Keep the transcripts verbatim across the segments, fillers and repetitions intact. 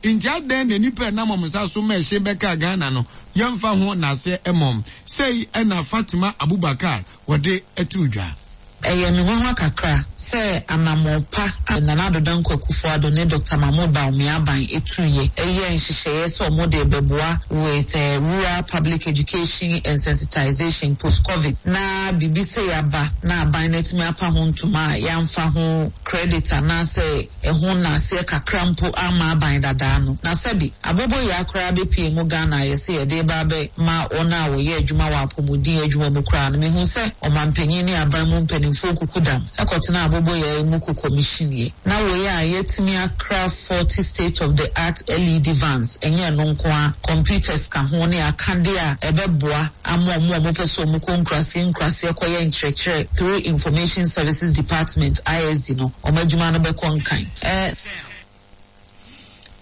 Nti adɛn na nnipa ɛnam wɔn nsa so ma ɛhyɛn bɛkaa Ghana no, yɛmfa ho n'aseɛ mmom? Sei ɛna Fatima Abubakar wɔde ato dwa. Ɛyɛ me nwanwa kakra sɛ anammɔn pa a Nana Addo Dankwa Akufo-Addo ne Doctor Mahmoud Bawumia aban etuyɛ ɛyɛ nhyehyɛeɛ sɛ ɔmo de bɛboa with uh, rural public education and sensitization post-COVID na biribi sɛ yaba na aban no atumi apa ho ntoma a yɛamfa ho credit anaasɛ ɛho naaseɛ kakra mpo ama aban dadaa no. Na sɛbi aboboyaa koraa bɛpie mu Ghana a yɛsɛ yɛde ba bɛ ma wɔn a wɔyɛ adwuma wɔ apɔmuden adwuma mu koraa no, mehu sɛ ɔmanpanyin ne aban mu mpanimfoɔ kuku dam ɛkɔtena aboboyaa yi mu kɔ commission yɛ na wɔyɛ a yɛtumi akra forty state of the art L E D vans. Ɛnyɛ ɛno nko a, computers ka ho ne akadeɛ a ɛbɛboa ama ɔmo a ɔmo pɛ sɛ ɔmo kɔ nkuraseɛ nkuraseɛ kɔyɛ nkyerɛkyerɛ through Information Services Department, I S D no, ɔmo adwuma no bɛkɔ nkan ɛɛ.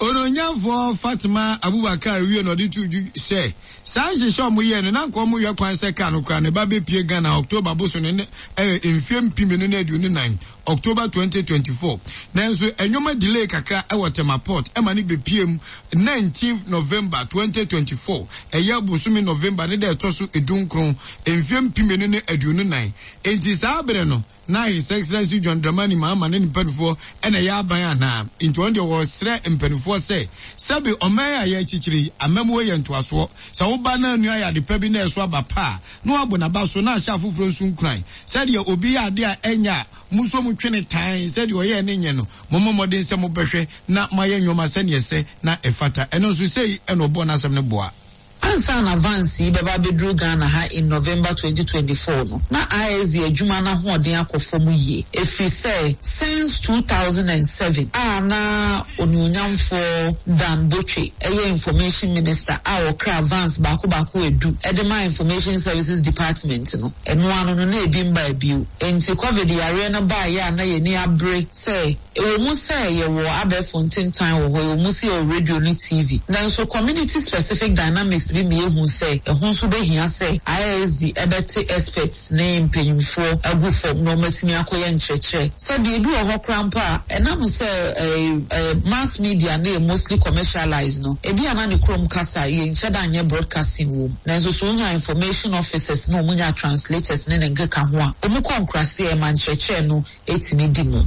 Ononyamfoɔ Fatima Abubakar wie na ɔde to dwu sɛ saa nhyehyɛ a ɔmo yɛ no, na nka ɔmo yɛ kwan sɛ kaa no koraa ne ba bɛpie Ghana October boso ne ne ɛyɛ mfie mpem mmienu ne aduonu nan, October twenty twenty-four. Nanso ɛnwoma delay kakra ɛwɔ Tema Port ɛma ne bɛpie mu nineteen November twenty twenty-four, ɛyɛ bosome November ne da ɛtɔ so edunkron, mfie mpem mmienu ne aduonu nan. Enti saa abere no na His Excellency John Dramani Mahama ne ne mpanimfoɔ ɛna ɛyɛ aban anaa. Nti wɔn deɛ, wɔsrɛ mpanimfoɔ sɛ sɛbi ɔman a yɛakyikyiri yi, amamuo yɛ ntoasoɔ. Sɛ woba na anua yɛ ade pa bi na ɛso aba pa a, na wabɔ n'aba so na ahyɛ afoforɔ nso nkuran. Sɛdeɛ obi yɛ ade a ɛnyɛ a, mo nso mo twene tan sɛdeɛ ɔyɛ ne nyɛ no, mommɔ mmɔden sɛ mobɛhwɛ na moayɛ nnwoma sɛneɛ sɛ na ɛfata. Ɛno nso sei ɛna ɔbɔ n'asɛm no boa. Ansa na vans yi bɛba abɛduru Ghana ha in November twenty twenty-four no, na I S D adwuma no ahoɔden akɔ fam yie, ɛfiri sɛ since two thousand and seven a na onuonyamfoɔ Dan Botwe ɛyɛ Information Minister a ɔkra vans baako baako edu ɛde ma Information Services Department no, ɛno ano no na ebi mba bio. Nti COVID yareɛ no baayɛ a, na yɛni abere sɛ ɛwɔ mu sɛ yɛwɔ abɛɛfo ntentan wɔ hɔ, ɛwɔ mu sɛ yɛwɔ radio ne T V, nanso community specific dynamics bi mi ehu sɛ ɛho nso bɛhia sɛ I S D ɛbɛte experts ne mpanyinfoɔ agu fam na wɔatumi akɔyɛ nkyerɛkyerɛ. Sɛdeɛ ebi wɔ hɔ koraa mpo a, ɛnam sɛ ɛɛ ɛɛ mass media ne yɛ mostly commercialized no, ebi ana ne kurom kasa yɛ nkyɛ da nyɛ broadcasting wɔ mu, nanso so wonya information officers na wɔn nya translators ne ne nkeka ho a, wɔn kɔ nkuraseɛ ma nkyerɛkyerɛ no etumi di mu.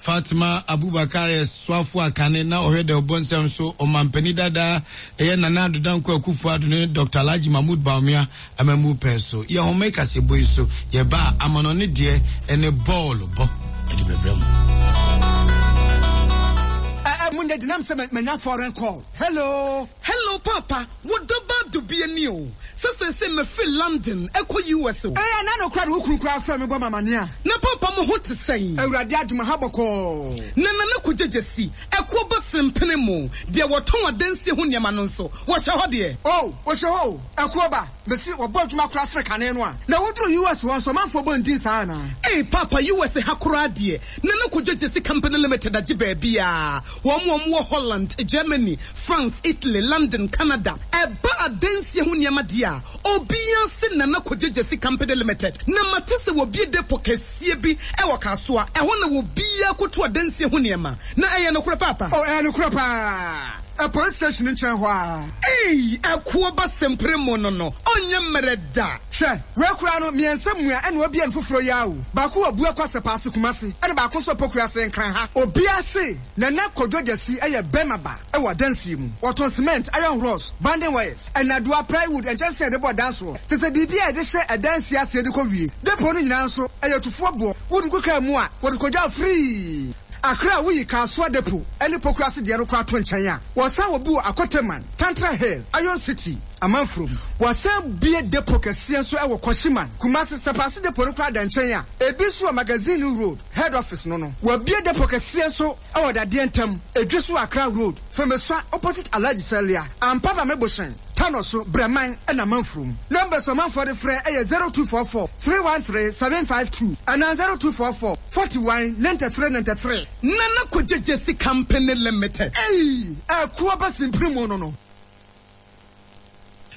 Fatima Abubakar yɛ soafo akane na ɔhwɛ dɛ ɔbɔ nsɛm so ɔmampanin dada ɛyɛ Nana Addo Dankwa Akufo Addo ne Doctor Alhaji Mahmood Bawumia amamu pɛn so. Yɛ homa kasɛbɔ yi so yɛba a, amanɔne deɛ ɛne bɔɔlo bɔ ɛde bɛbrɛ mu. Munde dinam sɛ manya foreign call. Hello? Hello, Papa. Wo dɔba dubie ni o. Sɛ sɛ sɛ mefiri London ɛkɔ U S o. Ɛyɛ na no kora de wo kunu kora frɛ me bɔ mamane a. Na papa, mo ho te sɛn? Awurade adom, ha bɔkɔɔ. Na Nana Kogyegye si ɛkoɔ ba sempene mu deɛ, wɔtɔn adansie ho nneɛma no nso, wɔhyɛ hɔ deɛ? O, wɔhyɛ hɔ o. Ɛkoɔ ba mesi wɔbɔ adwuma kora sere kane no a, na woduru U S hɔ nso, ɔmanfoɔ bɔ ndin saa anaa? Ei Papa, U S ha koraa deɛ, Nana Kogyegye si Company Limited agye baabi a wɔn wɔn wɔ Holland, Germany, France, Italy, London, Canada. Ɛba adansie ho nneɛma deɛ a, obiara se Nana Kogyegye si Company Limited. Na mate sɛ wɔbie depo kɛseɛ bi ɛwɔ Kasoa, ɛhɔ na wɔbiara koto adansie ho nneɛma. Na ɛyɛ nokorɛ, Papa? O, ɛyɛ nokorɛ paa. Ɛ police station nkyɛn hɔ a. Ei, ɛkoɔ ba sempere mu no no ɔnyɛ mmerɛ da. Hwɛ, wei koraa no mmiɛnsa mua ɛna wabie no foforɔ yi awo. Baako wɔ Bua Kwasɛ Paase Kumase, ɛna baako nso Pokua ase Nkran ha. Obiara se Nana Kodwo Gyasi ɛyɛ bɛrima ba ɛwɔ adansie mu. Wɔtɔn cement, iron rods, bonding wires, ɛnadoa, plywood, nkyɛnsee a yɛde bɔ dan soɔ te sɛ biribi a yɛde hyɛ ɛdansie aseɛ de kɔ wie. Depo no nyinaa nso ɛyɛ tufoɔ boɔ. Wode gu kaa mu a, wɔde kɔgya firii Akra a woyi Kasoa depo ɛne Pokuase deɛ no koraa to nkyɛn a, wɔsan wɔ bi wɔ Akoteman, Tantra Hill, Iron City, Amanfurom. Wɔsan bie depo kɛseɛ nso ɛwɔ Kɔhyiman, Kumase. Sɛpaase depo no koraa da nkyɛn a, ebi nso wɔ Magazine Road head office no no Wɔabie depo kɛseɛ nso ɛwɔ Dadeɛ Ntam Edwe so, Accra Road, Fɛmɛsua, opposite Alhaji Salia Ampa Bame Bohyɛn Tano so, Brɛman ɛna Amanfurom. Numbers ɔmanfoɔ de frɛ ɛyɛ zero two four four three one three seven five two anaa zero two four four forty-one ninety-three ninety-three. Nana Kogyegye si Company Limited. Ei, ɛkoɔ ba simpiri mu no no.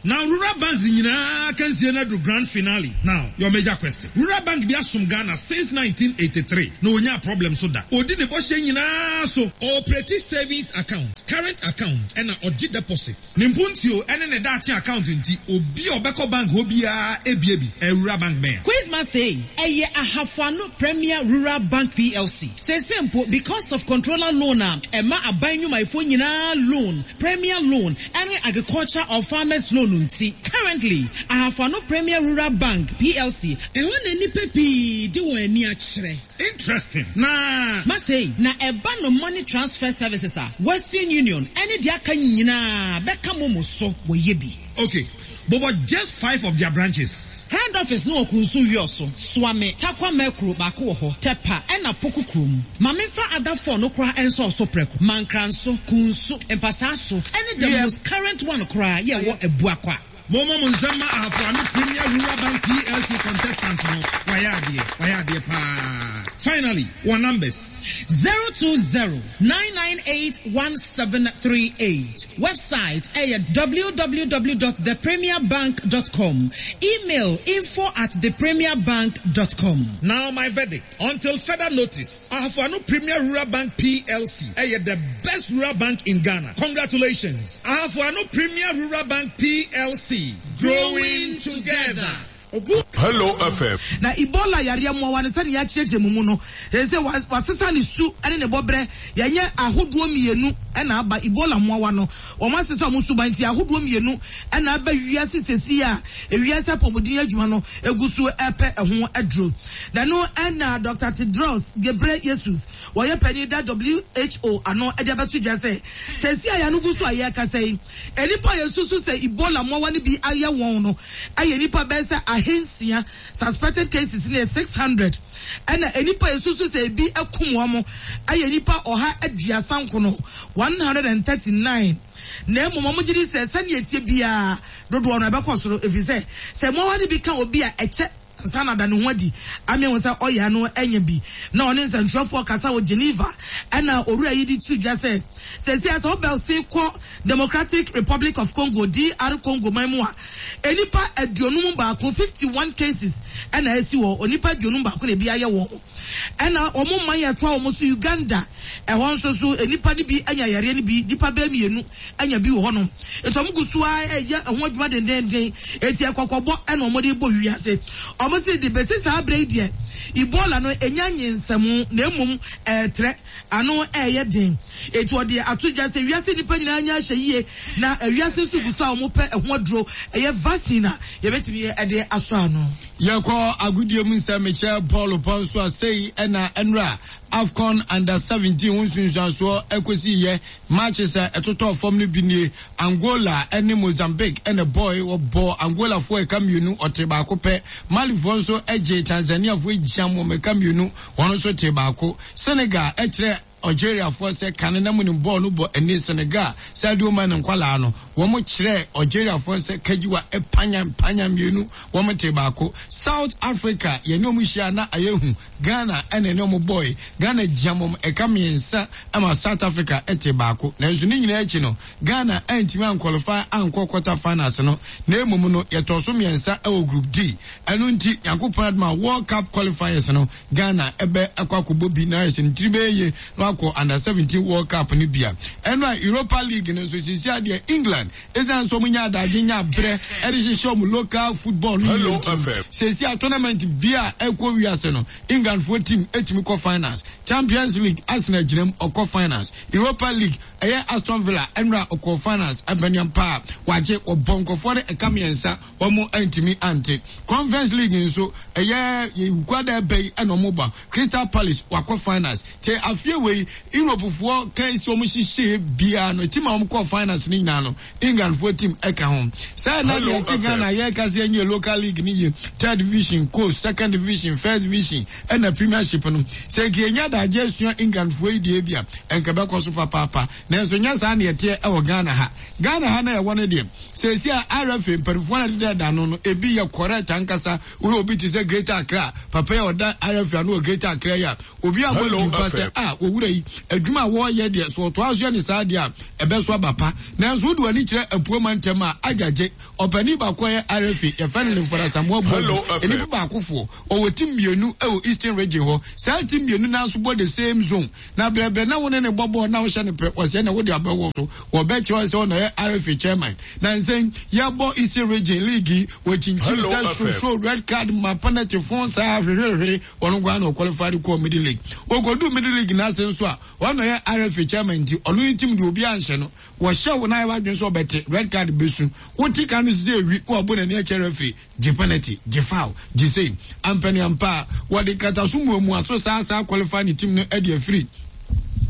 Now, rural banks nyinaa akansie no adu grand finale. Now, your major question. Rural bank bi asom Ghana since nineteen eighty three na onya problem so da. Odi ne bɔhyɛ nyinaa so. Ɔoperate savings account, current account, ɛna ɔgye deposit. Ne mpuntuo ɛne ne daakye account nti, obi a ɔbɛkɔ bank hɔ biara ebie bi. Ɛ rural bank bɛn? Quizmaster yi, ɛyɛ Ahafoano Premier Rural Bank P L C. Sese mpo, because of controller loan a ɛma aban nnwumayɛfoɔ nyinaa loan, premier loan ɛne agriculture or farmers loan nti, currently Ahafoano Premier Rural Bank P L C, ɛhɔ na nnipa pii de wɔn ani akyerɛ. Interesting. Na Master yi, na ɛba no money transfer services a, Western Union ɛne deɛ aka nyinaa bɛka momo so, wɔyɛ bi. Okay. But, but just five of their branches. Head office no wɔ Kunsu Wiɔso, Suame, Takwa Mɛkuro baako wɔ hɔ, Tɛpa ɛna Poku kurom. Maame fa adafoɔ no koraa nso ɔso prɛko. Mankranso, Kunsu, Mpasaa ɛne the Yeah. most current one koraa yɛ wɔ Abuakwa. Momo mo nsɛm ma Ahafoano Premier Rural Bank P L C contestant no. Wayɛ adeɛ. Wayɛ adeɛ paa. Finally, one numbers. zero two zero nine nine eight one seven three eight. Website ɛyɛ w w w dot the premier bank dot com. Email info at the premier bank dot com. Now my verdict. Until further notice, Ahafoano Premier Rural Bank P L C ɛyɛ the best rural bank in Ghana. Congratulations. Ahafoano Premier Rural Bank P L C. Growing together. Hello F M. Na Ebola yareɛ mmoawa no, sɛne yɛakyerɛkyerɛ mu mu no, ɛsɛ sɛ wasesa ne su ne ne bɔberɛ. Yɛnyɛ ahodoɔ mmienu ɛna aba. Ebola mmoawa no, wɔn asesa wɔn suban, nti ahodoɔ mmienu ɛna aba wiase sesi a ewiase apɔmuden adwuma no egu so ɛpɛ ɛho aduro. Na no ɛna Doctor Tedros Ghebreyesus, wɔyɛ panyin da W H O ano, ɛde abɛto dwa sɛ sesi a yɛn gu so a yɛrekasa yi, nipa a yɛsusu sɛ Ebola mmoawa no bi ayɛ wɔn no ɛyɛ nipa bɛyɛ sɛ ahensia. Suspected cases no yɛ six hundred, ɛna nipa a yɛsusu sɛ ebi akum wɔn ɛyɛ nipa ɔha aduasa nkono, one hundred and thirty nine. Na mmom wɔn gye di sɛ sɛnea etie biara, dodoɔ no ɛbɛkɔ soro, efiri sɛ sɛ mmoawa no bi ka obi a, ɛkyɛ nsa na da ne ho adi ame wɔn sɛ ɔyɛ ano anya bi. Na ɔne nsɛntwerɛfoɔ kasa wɔ Geneva, ɛna owura yi de tu dwa sɛ sɛsi sɛ ɔbɛsi kɔ Democratic Republic of Congo, D R Congo man mu a, enipa aduonum baako, fifty one cases ɛna esi wɔ onipa aduonum baako na ebi ayɛ wɔn. Ɛna wɔn man yɛ toa wɔn so, Uganda, ɛhɔ nso so nipa no bi anya yareɛ no bi, nipa bɛɛ mmienu anya bi wɔ hɔnom. Nti wɔn gu so a ɛyɛ ɛho adwuma dendenden. Eti ɛkɔkɔbɔ ɛna wɔn de bɔ wiase. Wɔn si de besi saa abere yi deɛ, Ebola no enya nyinsɛmu, na emom ɛɛtrɛ ano ɛɛyɛ den. Eti ɔde ato dwa sɛ wiase nipa nyinaa nya ahyɛ yie, na wiase nso gu so a wɔn pɛ ɛho aduro, ɛyɛ vaccine a yɛbɛtumi ɛde asɔ ano. Yɛkɔ agodie mu nsɛm, mekyerɛ bɔɔlo pɔ nso a, sei ɛna ɛnora AFCON under seventeen ho nsunsuansoɔ ɛkɔsi yɛ. Matches a ɛtotɔ fam no bi nie: Angola ɛne Mozambique ɛna bɔɔl, wɔbɔ Angolafoɔ ɛka mmienu, ɔte baako pɛ. Malifoɔ nso ɛgye Tanzaniafoɔ gyam wɔn ɛka mmienu, wɔn nso te baako. Senegal ɛkyerɛ Algeriafoɔ sɛ kane na mu ne bɔɔl no bɔ ani. Senegal Sadio Mane nkwalaa no, wɔn kyerɛ Algeriafoɔ sɛ kagiwa panya panya mmienu, wɔn te baako. South Africa yɛne wɔn hyia na ayɛ hu. Ghana ɛna ɛne wɔn bɔɔl, Ghana gyam wɔn ɛka mmiɛnsa ama South Africa ɛte baako. Nanso ne nyinaa akyi no, Ghana ɛntumi anqualify ankɔ quarter finals no, na emom no yɛtɔ so mmiɛnsa ɛwɔ Group D. Ɛno nti Nyankopɔn adoma, World Cup qualifiers no, Ghana ɛbɛ ɛkɔ akɔbɔ bi na ayɛ sɛ ne tiri bɛyɛ yie na wakɔ under seventeen World Cup no bia. Ɛno a Europa League no nso, sisi adeɛ England, ɛsiane sɛ ɔmo nya adagye nya abrɛ ɛde hyehyɛ ɔmo local football no yie nti, sisi a tournament bia ɛkɔ wiase no, England foɔ team ɛtumi kɔ finals. Champions League, Arsenal gyina mu ɔkɔ finals. Europa League, ɛyɛ Aston Villa, ɛnura ɔkɔ finals. Ɛmpɛniam paa wagye, ɔbɔ nkɔfoɔ no ɛka mmiɛnsa, wɔn ntumi ante. Conference League nso, ɛyɛ wukwada ɛbɛ yi ɛna wɔn ba, Crystal Palace wakɔ finals. Te afie wei, Europefoɔ kan si wɔn hyehyɛ biara no, team a wɔn kɔ finals ne nyinaa no, Englandfoɔ team ɛka ho. Sɛ ɛna deɛ ɛte Ghana yɛka sɛ ɛnyɛ local league ne yie, third division, coast, second division, first division ɛna Premiership no, sɛ nka yɛnya adagye asua Englandfoɔ yi deɛ bi a, ɛnka bɛkɔ so papaapa. Nanso nyɛ saa ne yɛteɛ ɛwɔ Ghana ha. Ghana ha na yɛwɔ no deɛ, sɛsi a R F A mpanimfoɔ no deda da no no ebi yɛ correct ankasa. Woyɛ obi te sɛ Greater Accra papa yi a ɔda R F A ano wɔ Greater Accra yi a, obi a mo mpa sɛ a wɔwura yi adwuma a wɔreyɛ deɛ so, ɔtoa so yɛ ne saa deɛ a, ɛbɛso aba pa. Nanso wode w'ani kyerɛ Apue mantam a, agyagye ɔpanin baako a ɔyɛ R F A, yɛfrɛ no Lemfora Samoa Boadu, nnipa baakofoɔ, ɔwɔ team mmienu wɔ Eastern Region hɔ. Saa team mmienu no ara nso bɔ the same zone. Na brɛbrɛ na wo ne no bɔ bɔɔl na wohyɛ no pɛ, ɔsɛe na wode abɛwɔ so. Wɔbɛkyerɛ wo sɛ ɔna ɔyɛ R F A chairman. Na nsɛn yɛbɔ Eastern Region league yi, wɔkyinkyim sɛ soso red card ma penalty fon saa hwehwehwere, ɔno nkoa na ɔqualify de kɔɔ middle league. Wɔkɔduu middle league n'ase nso a, ɔno yɛ R F A chairman, nti ɔno ne team de obi anhyɛ no. Wɔhyɛ wo na ayɛ wadwene sɛ ɔbɛte red card bɛsu, wote ka no sɛ ewi na wabɔ n'ani akyɛ referee, gye penalty, gye foul, gye sei ampani ampa a wɔde kataso muamua so saa saa qualify ne team no de afiri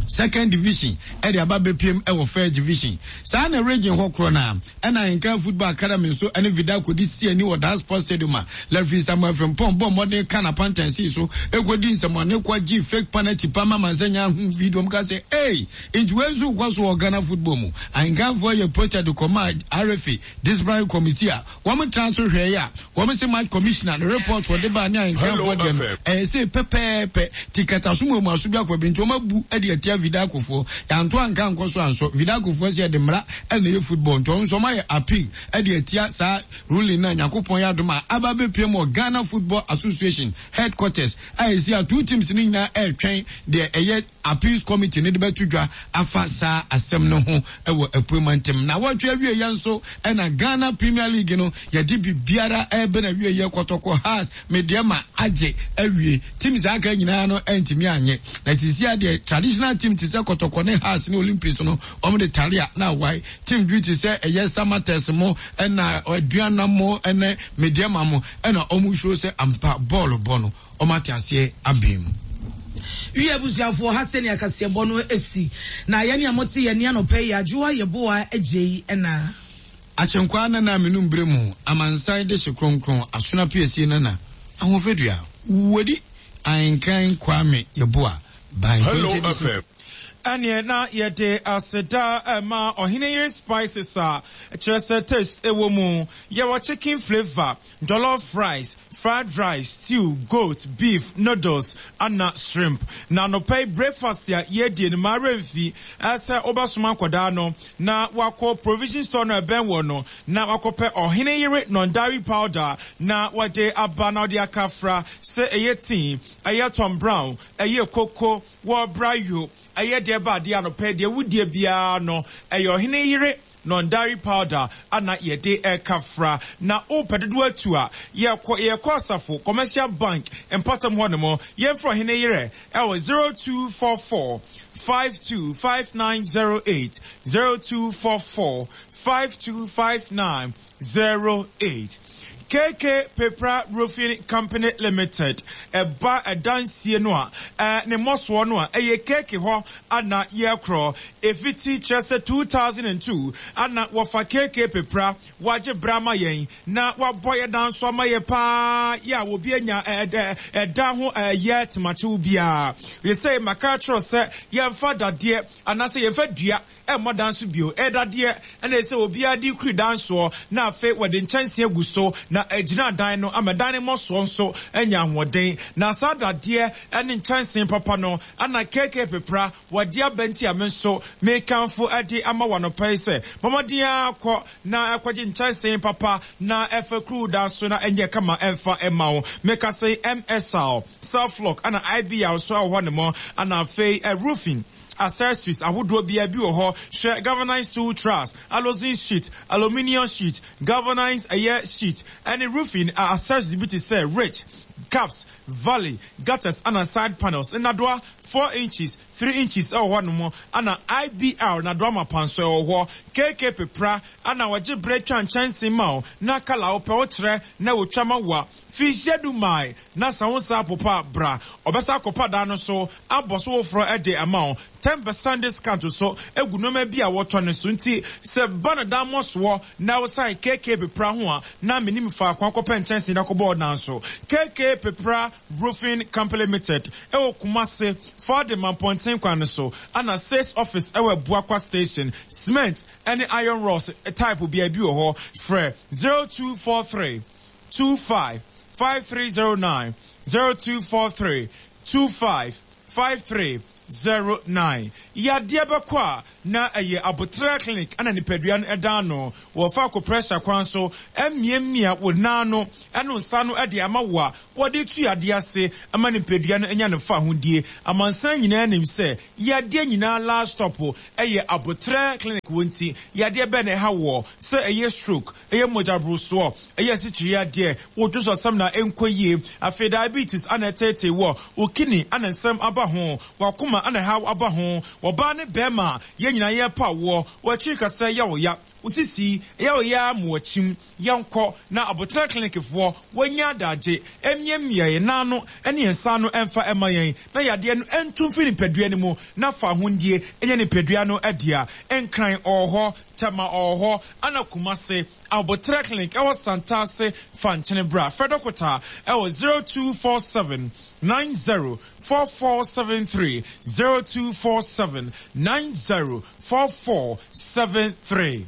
second division ɛde aba bɛpiem ɛwɔ first division. Saa na region hɔ korɔ na ɛna Ahenkan Football Academy nso ɛne Vidako de si ani wɔ Dan Sports Stadium a referee Samuel Frimpong bɔ mmɔden ka na pantan so ekɔdi nsɛmɔne kɔ gye fake penalty pa ma mansa nya hu video mu ka sɛ ei, nti wei nso kɔ so wɔ Ghana football mu. Ahenkanfoɔ yɛ protest kɔma R F A disciplinary committee a wɔn tena so hwɛ yi a wɔn sɛ match commissioner ne report wɔde ba ne ahenkanfoɔ deɛ no ɛyɛ sɛ pɛpɛɛpɛ ti kataso mu emu aso bi akɔ bi, nti wɔn abu de atia Vidakofoɔ. Yanto anka nkɔ so ansɔ Vidakofoɔ sɛ yɛde mmara ɛna ɛyɛ football, nti wɔn nso wɔn ayɛ appeal ɛde atia saa ruling na Nyankopɔn yɛ adom a aba bɛpie mu wɔ Ghana Football Association headquarters a yɛsi a two teams ne nyinaa ɛretwɛn deɛ ɛyɛ appeals committee ne de bɛto dwa afa saa asɛm no ho ɛwɔ Apue mantam. Na wɔtwe awie yɛn nso ɛna Ghana Premier League no yɛde biribiara ɛbɛ na awie yɛ Kɔtɔkɔ, Hearts, Medeama agye awie. Teams aka nyinaa no ɛntumi anyɛ, na sisi adeɛ traditional team te sɛ Kɔtɔkɔ ne Hearts ne Olympics no, wɔn de tare a na awae. Team bi te sɛ ɛyɛ Samartex mo ɛna Aduana mo ɛne Medeama mo ɛna wɔn show sɛ ampa bɔɔlo bɔ no wɔn ate aseɛ abɛn mu. Wie abusuafoɔ, ha sɛnea kaseɛbɔ no asi na yɛne a mote yɛne anɔpɛ yi Adwoa Yɛboa agye yi ɛna Akyenkwa nana menum berɛ mu amansan de hye kronkron asona piesie nana Ahofadua wodi Ahenkan Kwame Yɛboa by Hello F M. Ɛneɛ na yɛde aseda ɛma Ɔhene Yere Spices a kyerɛ sɛ taste ɛwɔ mu. Yɛwɔ chicken flavour, jollof rice, fried rice, stew, goat, beef, noodles ana shrimp. Na anɔpɛ yi breakfast a yɛdie no maa remfi ɛsɛ wobɛsoma nkɔdaa no na wakɔ provision store no ɛbɛn wɔ no na wakɔpɛ Ɔhene Yere non-dairy powder na wɔde aba na wɔde aka fra sɛ ɛyɛ tea, ɛyɛ Tom Brown, ɛyɛ koko wɔ brayo, ɛyɛ deɛ ba adeɛ anɔpɛ deɛ wudie biara no, ɛyɛ Ɔhene Yere non-dairy powder ana yɛde ɛka fra. Na wopɛ dodoɔ atu a, yɛkɔ yɛkɔ Asafo Commercial Bank mpatam hɔ nom. Yɛmfrɛ Ɔhene Yere ɛwɔ zero two four four five two five nine zero eight, zero two four four five two five nine zero eight. K K Pepra Roofing Company Limited, ɛba ɛdansie no a ɛɛ ne mmɔsoɔ no a ɛyɛ K K hɔ ana yɛkorɔ efiti kyerɛ sɛ two thousand and two ana wɔfa K K Pepra wagye bra ama yɛn na wabɔ yɛ dan so ama yɛ paa yɛ a obi anya ɛɛ ɛda ho ɛyɛ temakyew biara. Yɛsɛ maka kyerɛ sɛ yɛmfa dadeɛ anaasɛ yɛmfa dua ɛmmɔ dan so bio, ɛdadeɛ ɛna ɛsɛ obiara de kuri dan soɔ na afei wɔde nkyɛnsee agu so na agyina dan no ama dan no mmɔsoɔ nso anya ahoɔden. Na saa dadeɛ ɛne nkyɛnsee papa no ana K K Pepra wɔde aba, nti a me nso mekamfo ɛde ama wɔ anɔpa yi sɛ mɔmɔden akɔ na ɛkɔgye nkyɛnsee papa na ɛfɛ kuru dan so na ɛnyɛ kama ɛmfa ɛma wo. Meka sɛ M S L self-lock ana I B R nso ɛwɔ hɔ ne mo ana afei ɛ roofing accessories ahodoɔ biara bi wɔ hɔ. Hwɛ, galvanized steel truss, aluzinc sheet, aluminium sheet, galvanized ɛyɛ sheet ɛne roofing accessories bi te sɛ ridge caps, valley gutters ana side panels nnadoa four inches, three inches ɛwɔ hɔ nom ana I B R nadoa mapa nso ɛwɔ hɔ. K K Pepra ana wɔgye berɛ twa nkyɛnsee ma wo na colour wopɛ wokyerɛ na wotwa ma wo a fihyia du mae na sa wo nsa apopa bra ɔbɛsa akɔpa dan no so abɔ so foforɔ ɛde ama wo ten percent discount so egu nneɛma bi a wɔtɔ ne so. Nti sɛ ba na dan mɔ soɔ na wosan K K Pepra ho a na menim faako akɔpɛ nkyɛnsee na akɔbɔ dan so. K K Pepra Roofing Company Limited ɛwɔ Kumase Fɔde Mampɔnten kwan no so ana sales office ɛwɔ Abuakwa Station. Cement ɛne iron rods type bia bi wɔ hɔ. Frɛ zero two four three two five five three zero nine, zero two four three two five five three zero nine. Yadeɛ bɛkɔ a na ɛyɛ Abotrɛ Clinic ana nipadua no ɛda no wɔfa acupressure kwan so ɛmmiamia wo nan no ɛno nsa no ɛde ama wo a wɔde tu yadeɛ ase ama nipadua no anya ne fa ahodie. Amansan nyinaa nim sɛ yadeɛ nyinaa last stop ɛyɛ Abotrɛ Clinic. Wɔ nti yadeɛ bɛn na ɛha wɔ sɛ ɛyɛ stroke, ɛyɛ mogyaborosoɔ, ɛyɛ asikyire yadeɛ, wodwo so asɛm na ɛnkɔ yie, afei diabetes ana ɛtete wɔ wo kidney ana nsɛm aba ho, wakoma ana ɛhaw aba ho, wɔbaa ne bɛrima yɛn nyinaa yɛ pa woɔ, wɔakyiri kasa yɛ wo ya, wosisi ɛyɛ wo ya ma wɔkyim. Yɛnkɔ na Abotrɛ Clinicfoɔ wɔanya adagye ɛmiamia yɛn nan no ɛne yɛn nsa no ɛmfa ɛma yɛn na yadeɛ no ɛntu mfiri nipadua no mu na fa ahondie ɛnyɛ nipadua no ɛdea. Nkran ɔwɔ hɔ, Tema ɔwɔ hɔ, ana Kumase Abotrɛ Clinic ɛwɔ Santase fa nkyene bra. Frɛ dɔkota ɛwɔ zero two four seven nine zero four four seven three, zero two four seven nine zero four four seven three.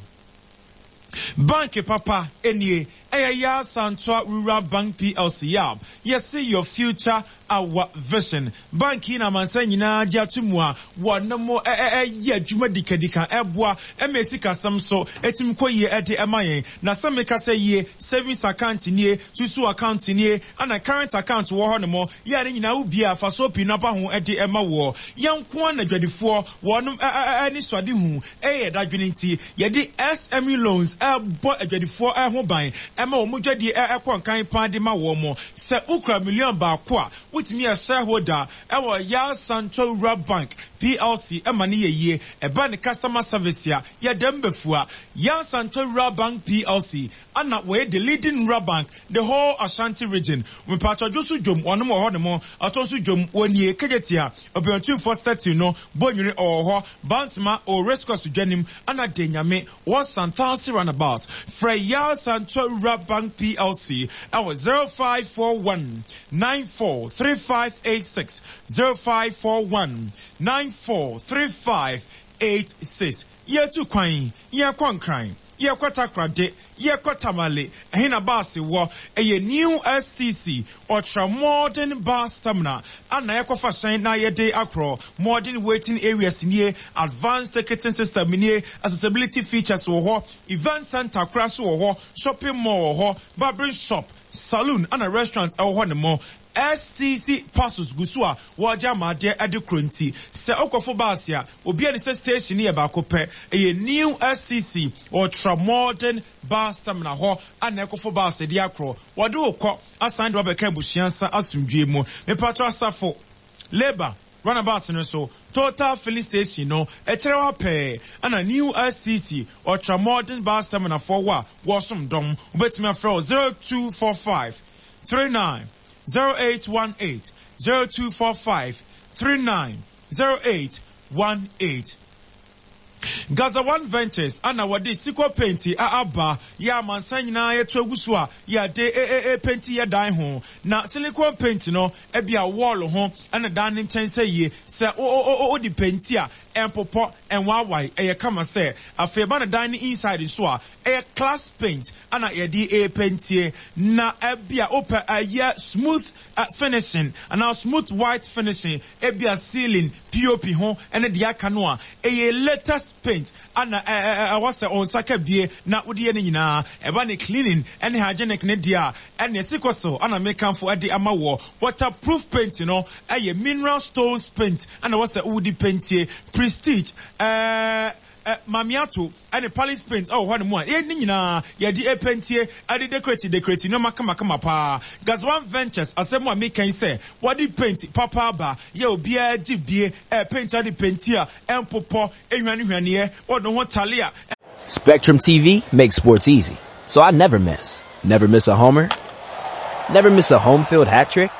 Bank papa enie ɛyɛ Ya Santoa Rural Bank P L C. Yab yɛsi your future, our vision. Bank yi na amansan nyinaa gye ato mu a wɔn ɛyɛ adwuma dikadika ɛboa ɛma esikasɛm so etimi kɔ yie ɛde ɛma yɛn. Na sɛ meka sɛ yie, savings account nie, susu account nie, ana current account wɔ hɔ nom yɛ ne nyinaa wobie a fa so pii no aba ho ɛde ɛma wɔ yɛn nko. Na adwadifoɔ wɔn ɛne suade hu ɛyɛ dadwene nti yɛde S M E loans ɛbɔ adwadifoɔ ɛho ban ɛma wɔn dwadie ɛkɔ nkan pan de ma wɔn mo. Sɛ wokura million baako a, wotumi yɛ shareholder ɛwɔ Ya Santo Rural Bank P L C ɛma ne yɛ yie. Ɛba ne customer service a yɛdɛm bɛfua. Ya Santo Rural Bank P L C ana wɔyɛ the leading rural bank the whole Ashanti Region. Mpatɔdwo so dwom wɔnom wɔ hɔ nom, ɔtɔ so dwom wɔnie Kejetia ɔbɛntumfoɔ statue no Bɔnwene ɔwɔ hɔ, Bantama o race course dwanim, ana de Nyame wɔ Santase roundabout. Frɛ Ya Santo Rural Bank P L C ɛwɔ zero five four one nine four three five eight six, zero five four one nine four three five eight six. Yɛtu kwan, yɛkɔ Nkran, yɛkɔ Takoradi, yɛkɔ Tamale, ɛhe na baase wɔ? Ɛyɛ New S T C Ultra Modern Bus Terminal ana yɛkɔfa hyɛn na yɛde akorɔ. Modern waiting areas nie, advanced ticketing system nie, accessibility features wɔ hɔ, event center kora so wɔ hɔ, shopping mall wɔ hɔ, barbering shop, saloon ana restaurant ɛwɔ hɔ ne mo. S T C parcels gu so a wɔregye amadeɛ de kuro nti sɛ wokɔfo baase a obi a ne sɛ station yɛ baako pɛ, ɛyɛ New S T C Ultra Modern Bus Terminal hɔ ana ɛkɔfo baase de akorɔ. Wɔde wo kɔ asan de wabɛka abusua nsa asomdwe mu. Mepatɔ Asafo Labour roundabout no so, Total filling station no ɛkyerɛ hɔ pɛɛ ɛna New S T C Ultra Modern Bus Terminal foɔ wɔ a wɔsom dɔm. Wobɛtumi afrɛ wo zero two four five three nine zero eight one eight, zero two four five three nine zero eight one eight. Gaza One Ventures ana wɔde Siko paint a aba yɛ amansan nyinaa yɛto agu so a yɛde ee paint yɛ dan ho. Na silicone paint no ebi a wall ho ɛna dan ne nkyɛn sɛ yie sɛ o o o de paint a ɛmpopɔ ɛnwaawae, ɛyɛ kama. Sɛ afei ɛba ne dan ne inside nso a, ɛyɛ class paint ana yɛde ee paintie. Na ebi a wopɛ ɛyɛ smooth uh, finishing anaa smooth white finishing, ebi a ceiling, P O P ho ɛne deɛ aka no a, ɛyɛ latest paint ana ɛwɔ sɛ ɔnsa ka bie na wode yɛ no nyinaa. Ɛba ne cleaning ɛne hygienic ne deɛ a, ɛne ɛsi so ana mekamfo ɛde ama wɔ waterproof paint no, ɛyɛ mineral stones paint ana wɔ sɛ wodi paintie. Prestige, ɛɛ ɛ mamiato ɛne palace paint ɛwɔ hɔ ne mu a yɛn ne nyinaa yɛde epentie ɛde decorate decorate nneɛma kamakama paa. Gazwan Ventures asɛm a meka yi sɛ wɔde paint papa aba yɛ obiara gye bie ɛ paint ade painti a ɛmpopɔ ehwanehwaneɛ wɔde ho tale a. Spectrum T V makes sports easy, so I never miss. Never miss a homer. Never miss a home field hat trick.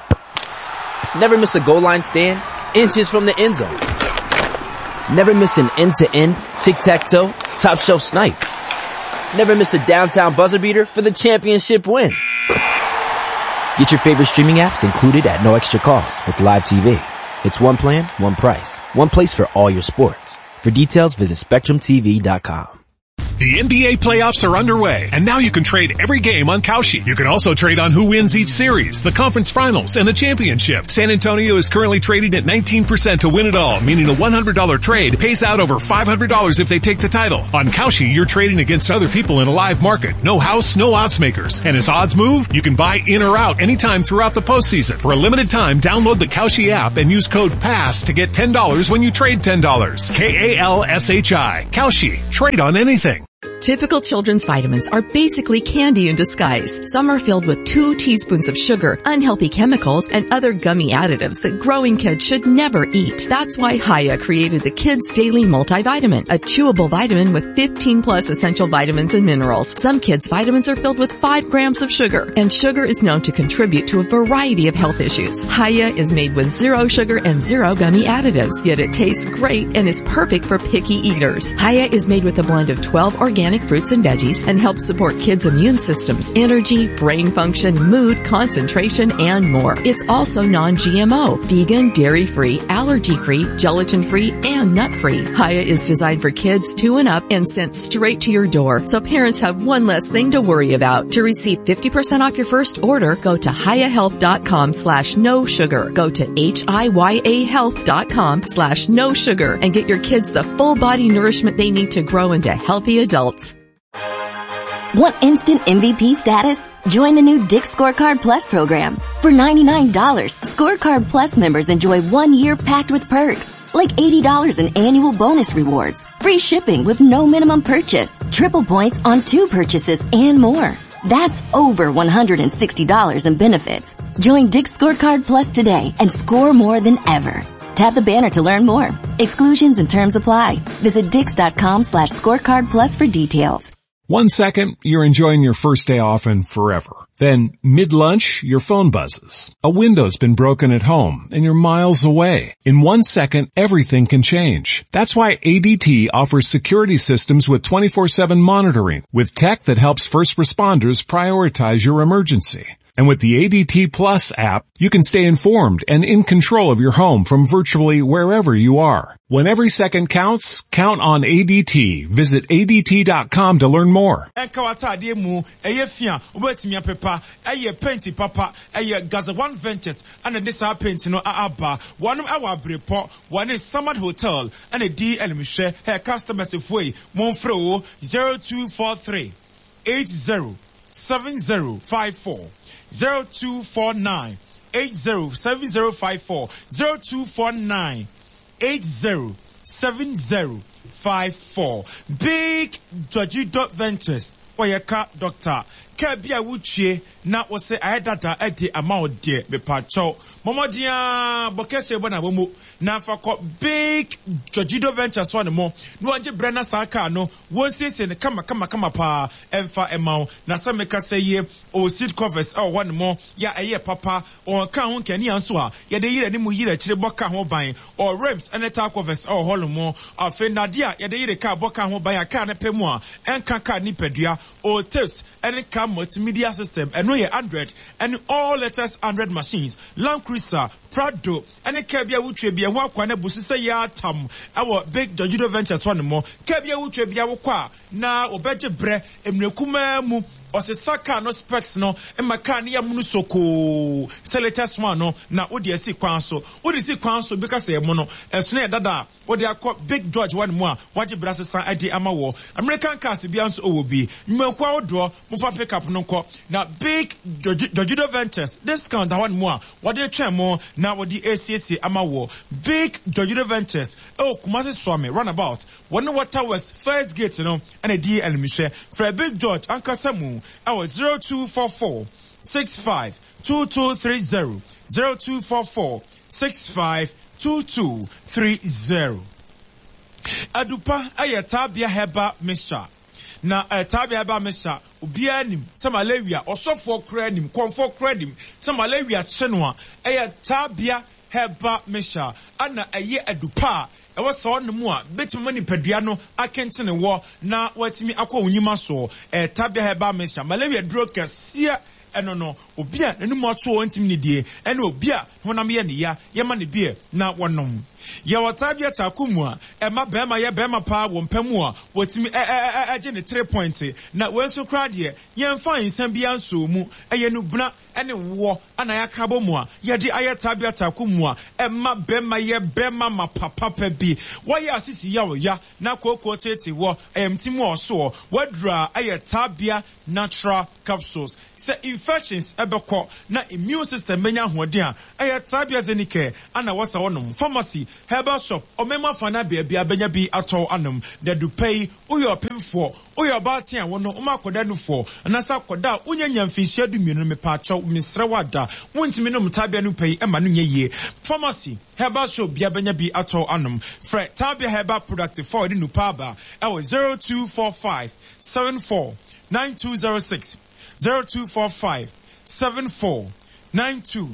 Never miss a goal line stand, inches from the end zone. Never miss an end-to-end, tic-tac-toe, top shelf snipe. Never miss a downtown buzzer beater for the championship win. Get your favorite streaming apps included at no extra cost with Live T V. It's one plan, one price, one place for all your sports. For details, visit Spectrum T V dot com. The N B A playoffs are underway, and now you can trade every game on Kalshi. You can also trade on who wins each series, the conference finals, and the championship. San Antonio is currently trading at nineteen percent to win it all, meaning a one hundred dollar trade pays out over five hundred dollars if they take the title. On Kalshi, you're trading against other people in a live market. No house, no odds makers. And as odds move, you can buy in or out anytime throughout the postseason. For a limited time, download the Kalshi app and use code PASS to get ten dollars when you trade ten dollars. K A L S H I. Kalshi. Trade on anything. Typical children's vitamins are basically candy in disguise. Some are filled with two teaspoons of sugar, unhealthy chemicals, and other gummy additives that growing kids should never eat. That's why Hiya created the Kids Daily Multivitamin, a chewable vitamin with fifteen plus essential vitamins and minerals. Some kids' vitamins are filled with five grams of sugar, and sugar is known to contribute to a variety of health issues. Hiya is made with zero sugar and zero gummy additives, yet it tastes great and is perfect for picky eaters. Hiya is made with a blend of twelve organic fruits and veggies and helps support kids' immune systems, energy, brain function, mood, concentration, and more. It's also non G M O, vegan, dairy-free, allergy-free, gelatin-free, and nut-free. Hiya is designed for kids two and up and sent straight to your door, so parents have one less thing to worry about. To receive fifty percent off your first order, go to hiya health dot com slash no sugar. Go to H I Y A health dot com slash no sugar and get your kids the full body nourishment they need to grow into healthy adults. Want instant M V P status? Join the new Dick's Scorecard Plus program. For ninety-nine dollars, Scorecard Plus members enjoy one year packed with perks, like eighty dollars in annual bonus rewards, free shipping with no minimum purchase, triple points on two purchases, and more. That's over one hundred sixty dollars in benefits. Join Dick's Scorecard Plus today and score more than ever. Tap the banner to learn more. Exclusions and terms apply. Visit dicks.com slash scorecard plus for details. One second, you're enjoying your first day off and forever. Then, mid-lunch, your phone buzzes. A window's been broken at home, and you're miles away. In one second, everything can change. That's why A D T offers security systems with twenty-four seven monitoring, with tech that helps first responders prioritize your emergency. And with the A D T Plus app, you can stay informed and in control of your home from virtually wherever you are. When every second counts, count on A D T. Visit A D T dot com to learn more. Gaza One Ventures and this paint no aba one hour report one is Summit Hotel and a D L share her customers if way Monfro zero two four three eight zero seven zero five four zero two four nine eight zero seven zero five four zero two four nine eight zero seven zero five four. Big Georgie dot Ventures Oyeka Doctor Kebia wuchie na wose ayedada edi ama ode mepacho momodia bokese bona bomo na fa Big Georgido Ventures one mo no anje brena saka no wonsiesie ne kama kama kama pa emfa ema na se meka se ye o seat covers e one mo ya eye papa on ka ho nkani anso a ye de yire ne mu yire kire boka ho ban o rims ene ta covers e holo mo afe nadia ye de yire ka boka ho ban aka ne pemu a enka ka ni padua o tips ene ka multimedia system and no Android and all latest Android machines, Land Cruiser, Prado, and a Kebia Uche be a wakwana busu ya tam our Big Georgido Ventures one more Kebia Uche be a kwa na obeje bre emrekuma mu osesaka no specs no emakani ya munu soko selectors one no na odi esi kwan so odi si kwan so because e mu no eso na dada odi akọ Big George one more waje brase san adi amawo American cars bi anso owo bi mmakwa odo mo fa pick up no nko na Big Georgido Ventures discount one more wade twen mo na wodi A C C amawo Big Georgido Ventures e Kumasi Swami runabout one Water West first gate no and a D L mihwe for Big George ankasa mu our zero two four four six five two two three zero zero two four four six five two two three zero. Adupa ayatabia heba mixture. Na ayatabia heba mixture ubia nim samalaria osofo kra nim konfo kra nim samalaria chenoa ayatabia heba mixture ana aye adupa ewo so no mu a betimi mani padua no akentene wo na watimi akwa onyima so e tabia heba mixture malaria duro kɛseɛ eno no obi a nanu ato ontimi ne die ene obi a honam ye ne ya ye ma ne bie na wonom. Yɛwɔ Tabia Taako mu a ɛma bɛrima yɛ bɛrima paa wɔ mpɛ mu a wɔtumi ɛgye ne three point. Na wei nso koraa deɛ, yɛmfa nsɛm biara nso mu, ɛyɛ nubena ɛne woɔ ana yɛaka bɔ mu a yɛde ayɛ Tabia Taako mu a ɛma bɛrima yɛ bɛrima ma papapa bi. Wɔyɛ asisi yaw ya na kooko tete wɔ ɛyɛmti mu ɔsoɔ wadura ɛyɛ Tabia Natural Capsules. Sɛ infections ɛbɛkɔ na immune system bɛnya ahoɔden a, ɛyɛ Tabia Zenicare ana wɔsa wɔnom. Pharmacy, herbal shop, ɔmɛma fa na baabi a bɛnya bi atɔ anom. Na dupɛ yi, woyɛ ɔpemfoɔ, woyɛ ɔbaatan a wɔno woma akɔda nufoɔ anaasɛ akɔda a wonya nya mfinhyia du mmienu no, mepaakyɛw, mesrɛ wo ada, wontumi nom Tabia no pɛ yi ɛma no nyɛ yie. Pharmacy, herbal shop bia bɛnya bi atɔ anom. Frɛ Tabia Herbal Product four de nupa aba ɛwɔ zero two four five seven four nine two zero six, zero two four five seven four nine two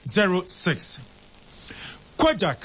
zero six. Kojak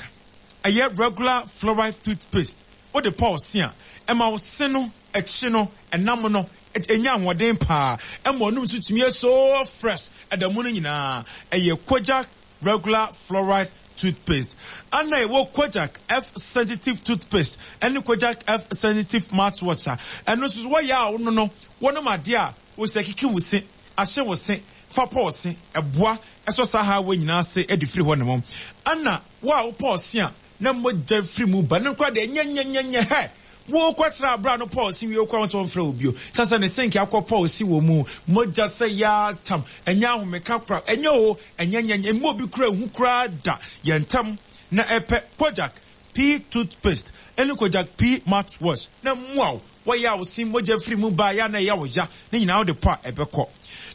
ɛyɛ regular fluoride toothpaste. Wode pɔw se a, ɛma wo se no akyi no ɛnam no ɛnya ahoɔden paa, ɛma ɔnum nso tumi yɛ so fresh ɛda mu no nyinaa. Ɛyɛ Kojak regular fluoride toothpaste. Ana ɛwɔ Kojak F Sensitive toothpaste ɛne Kojak F Sensitive mouthwash a ɛno nso so wɔyɛ a wono no wɔnom adeɛ a wosɛ kiki wo se ahyɛ wo se fa pɔw se, ɛboa ɛsɔ saa ha wɔ nyinaa se ɛde firi hɔ ne mo. Ana wo a wopɔw se a na mogya firi mu ba ne nkora deɛ, nyɛnyɛnyɛnyɛ hɛ wokɔ sra abira no pɔw si wie kɔ sɛ wɔmfrɛ wo bio sɛ sɛ ne senke akɔ pɔw si wɔ mu mogya sɛ yɛatam, ɛnyɛ ahomeka kora, ɛnyɛ o, ɛnyɛ nyɛnyɛ ɛmu obi kura ehu koraa da yɛn ntam. Na ɛpɛ Kojak P toothpaste ɛne Kojak P mouthwash na mmoa wo wɔyɛ a wosi mogya firi mu ba yɛ na ɛyɛ wo ya ne nyinaa wode pɔ a ɛbɛkɔ.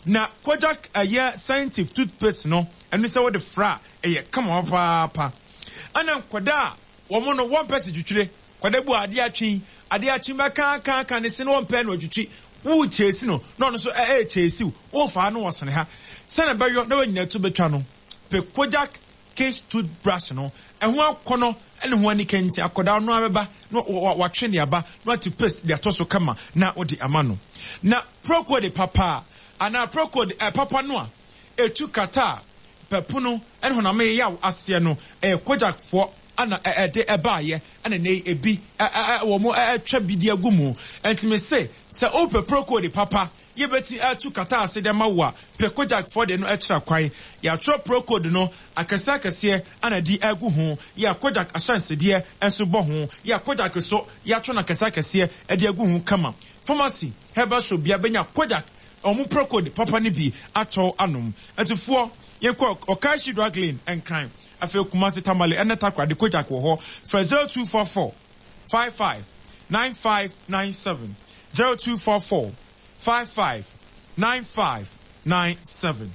Na Kojak ɛyɛ Sensitive toothpaste no, ɛno sɛ wode fra a ɛyɛ kama papaapa. Ɛna nkwadaa a wɔn no wɔmpɛ si twitwire kwadaa bu adeɛ atwi adeɛ atwi bɛkaakaaka ne se no, wɔmpɛ no atwitwi wo kyesi no na ɔno nso ɛyɛ kyesi wo wɔmfa no wɔsene ha sɛnɛ bɛyɔ na wɔnyina to bɛtwa no pɛ Kojak Kids toothbrush no, ɛho akɔnɔ ɛne ho ani kɛntɛn. Akɔdaa no abɛba na watwe ne aba na wate paste de atɔ so kama na wɔde ama no. Na Procold papa anaa Procold ɛ papa no a etu kata a pɛpono ɛne honam yaw aseɛ no, ɛyɛ Kojakfoɔ ana ɛde ɛbaayɛ ɛna ne ebi ɛ ɛ wɔn ɛtwa bi de agu mu. Ɛntumi se sɛ ɔpɛ Procold papa yɛbɛti ɛtu kata ase de ma wo a, pɛ Kojakfoɔ de no ɛkyerɛ kwan. Yɛatwerɛ Procold no akɛseɛ akɛseɛ ana di agu ho, yɛ Kojak ahyɛnsedeɛ nso bɔ ho, yɛ Kojak so yɛatwerɛ no akɛseɛ akɛseɛ ɛde agu ho kama. Pharmacy, herbal shop bia bɛnya Kojak ɔmo Procold papa no bi atɔ anom. Ɛtufoɔ, yɛnkɔ Okaishie Drug Lane, Nkran, afei Kumasi, Tamale ɛne Takoradi, Kojak wɔ hɔ. Frɛ zero two four four five five nine five nine seven, zero two four four five five nine five nine seven.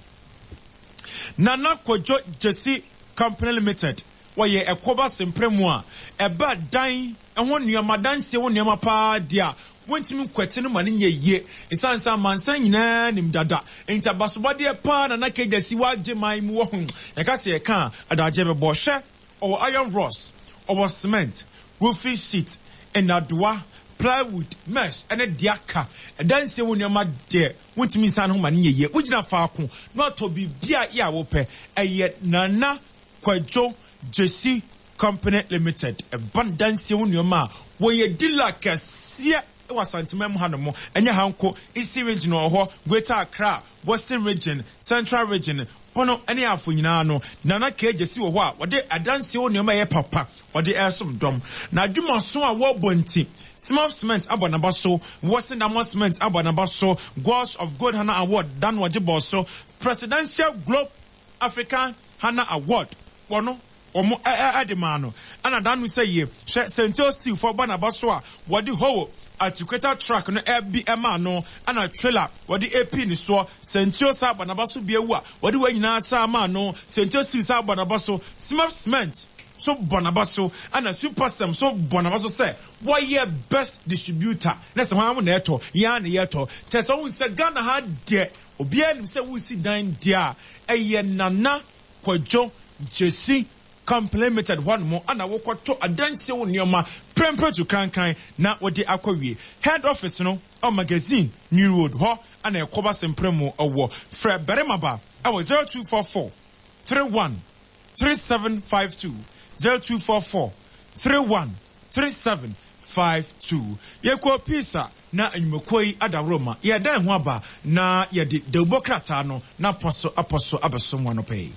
Nana Kojo Jesi Company Limited, wɔyɛ ɛkɔba sempere mu a ɛba dan ɛho nneɛma, dansie ho nneɛma paa deɛ a wɔntumi nkwati no ma no nyɛ yie, ɛsiane sɛ amansan nyinaa nim dada nti abasobɔdeɛ paa Nana Kegyasi wagye man mu wɔ ho. Yɛka sɛ yɛka a adagye bɛbɔ. Hwɛ, ɔwɔ iron rods, ɔwɔ cement, roofing sheet, nnadoa, plywood, mesh ɛne deɛ aka ɛdansie ho nneɛma deɛ wontumi nsan ho ma no nyɛ yie. Wogyina faako na watɔ biribi a yɛ a wopɛ. Ɛyɛ Nana Kwadwo Jesi Company Limited. Ɛba no dansie ho nneɛma a, wɔyɛ dealer kɛseɛ wɔ Asanteman mu hanom. Ɛnyɛ ha nko, Eastern Region wɔ hɔ, Greater Accra, Western Region, Central Region, Pono ne Afo nyinaa no, Nana Kegye si wɔ hɔ a wɔde adansie ho nneɛma ɛyɛ papa wɔde ɛresom dɔm. Na adwumaso a wɔrebɔ nti, Smart Cement abɔ n'aba so, Wɔsi Diamond Cement abɔ n'aba so, Gods of Gold Hana Award dan wɔgye bɔɔ so, Presidential Globe African Hana Award wɔno wɔn ɛde maa no. Ɛna danu sɛ yie, hwɛ, Sentuo Steel fo bɔ n'aba so a wɔde howo articulator truck no ɛbi ɛmaa no, ɛna trailer wɔde epi ne soɔ. Sentuo saa bɔ n'aba so bi ewu a wɔde wɔn nyinaa saa maa no. Sentuo Steel saa bɔ n'aba so, Smart Cement so bɔ n'aba so, ɛna Supersem so bɔ n'aba so sɛ wɔyɛ best distributor na sɛ wɔn na ɛtɔ yɛn na yɛtɔ kyerɛ sɛ wɔn sɛ Ghana ha deɛ, obiara nim sɛ wosi dan deɛ a, ɛyɛ Nana Kwadwo Jesi Company Limited hɔnom ana wokɔtɔ adansie wo nneɛma prɛmprɛ tu krankran na wɔde akɔ. Head office no ɔ Magazine New Road hɔ ana ɛkɔba sɛmprɛ mu ɛwɔ. Frɛ barima ba ɛwɔ zero two four four three one three seven five two, zero two four four three one three seven five two. Yɛkɔ Pisa na nnwumakuo yi adaworo ma yɛdan ho aba na yɛde dawubɔ krataa no na apɔ so apɔ so abɛsom wɔn anɔpa yi.